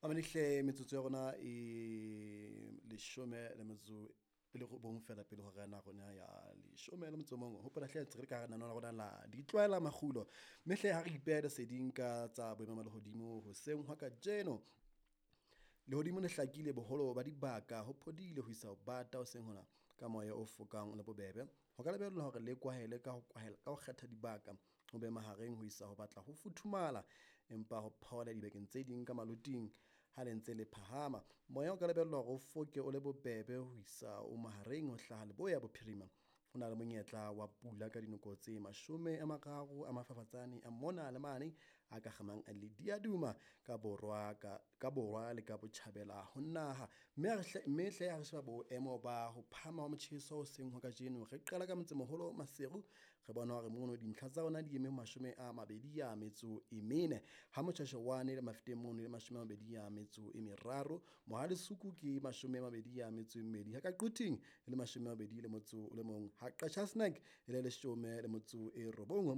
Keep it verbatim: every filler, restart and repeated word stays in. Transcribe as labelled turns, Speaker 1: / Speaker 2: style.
Speaker 1: Mamedihle metsotso ya rona e leshome le metso e le robong fela pele hora ya rona ya leshome le motso o mong. Hopola hle ntse re le ka hara lenaneo la rona la ditlwaela makgulo. Mme hle ha re ipeha leseding ka tsa boemo ba lehodimo hoseng hwa kajeno. Lehodimo le hlakile boholo ba dibaka ho phodile ho isa ho bata hoseng hona ka moya o fokang o le bobebe. Ho ka lebellwa hore le kwahele ka ho kwahela ka ho kgetha dibaka ho be mahareng ho isa ho batla ho futhumala, empa ho phole dibakeng tse ding ka maloting ha le ntse le phahama. Moya o ka lebellwa hore o foke o le bobebe ho isa o mahareng ho hlaha leboya bophirima. Ho na le monyetla wa pula ka dinako tse mashome a mararo a mafafatsane a mona le mane a ka kgamang le diaduma ka borwa ka, ka borwa le ka botjhabela ho naha. Mme ha re hle, mme hle ha re sheba boemo ba ho phahama ha motjheso hoseng hwa kajeno, re qala ka motsemoholo Maseru, re bona hore mono dintlha tsa rona di eme mashome a mabedi a metso e mene. Ha Motjhashewane le Mafeteng mono e le mashome a mabedi a metso e meraro, Mohale's Hoek ke mashome a mabedi a metso e mmedi, ha ka Quthing e le mashome a mabedi le motso o le mong, ha Qacha's Nek e le leshome le motso e robong.